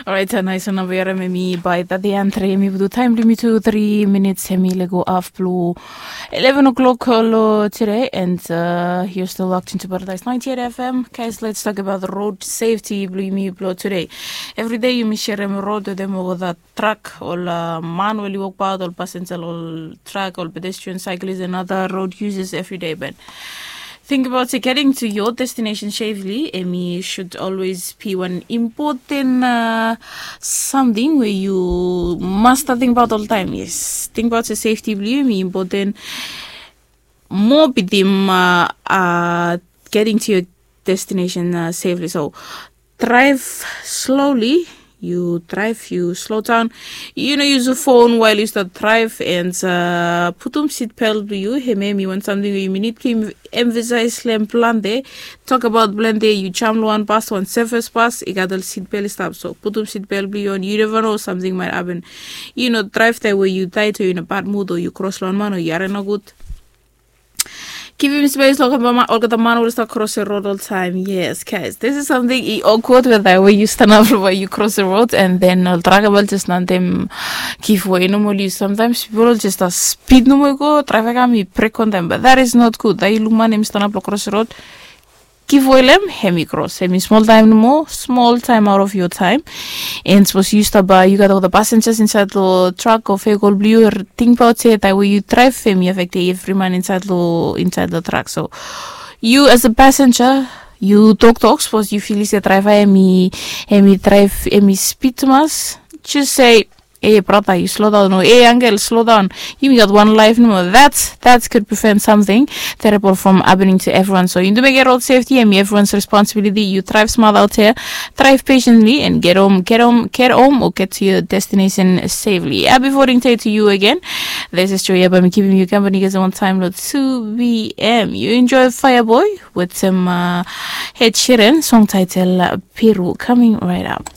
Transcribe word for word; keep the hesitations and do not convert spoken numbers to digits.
Orait, nais nao namba yu harem, hemi bae tati antre, hemi putum taem blong yumi tu tri minits, hemi lego haf blong eleven o'clock long tede. And uh, you're still locked into Paradise ninety-eight F M. Guys, let's talk about road safety blong yumi blong tede. Evri dei yumi serem rod wetem ol that truck, ol uh, man we oli wokbaot, ol passenger, ol truck, ol pedestrian, cyclist, and other road users evri dei. But think about se getting to your destination safely, hemi should always be wan impoten uh, samting we yu mas stap tingbaot oltaem. Yes, tingbaot se safety blong yu hemi impoten moa bitim uh, uh, getting to your destination uh, safely. So drive slowly. Yu drive, yu slow down. Yu no yusum phone while yu stap drive, and uh, putum seat belt blong yu. Hemia hemi wan samting we yumi nid blong yumi emphasize long plante. Tokbaot plante, yu jam long wan bus, wan surface bus, i gat ol seat belt i stap. So putum seat belt blong yu on. Yu neva no, samting maet hapen. Yu no drive taem we yu taet o yu in a bad mood o yu kros long wan man o yu harem nogud. Givim spes long olgeta man we oli stap kros rod oltaem. Yes, guys, this is samting i awkward wetem we yu stanap long bae yu kros rod, and then ol truck bae oli jes lanem givwe nomo. Yu, samtaem pipol oli jes stap spid nomo i go, traefik hemi brek wantaem, but that is not good. Taem yu luk man hemi stanap long kros rod, givwe long hem, hemi kros. Hemi smol taem nomo, smol taem out of your time. And sapos yu stap, uh, yu gat olgeta passengers insaed long truck o vehicle blong yu, tingbaot se taem we yu draev, hemi afektem evri man insaed long, insaed long truck. So yu as a passenger, yu toktok. Sapos yu filim se draeva hemi, hemi draev, hemi spid tumas, just say, "Ei brata, yu slodaon," o, "Ei angel, slodaon. Yumi gat wan laef nomo." That's, that could prevent something terrible from happening to everyone. So yu mekem road safety hemi everyone's responsibility. Yu draev smat out here, drive patiently, and get home, get home, get home, or get to your destination safely. Happy voting day to you again. This is Joya, bae mi kipim yu kampani kasem wan taem long two p.m. Yu enjoy Fireboy wetem uh, Ed Sheeran, song title uh, Peru, coming right up.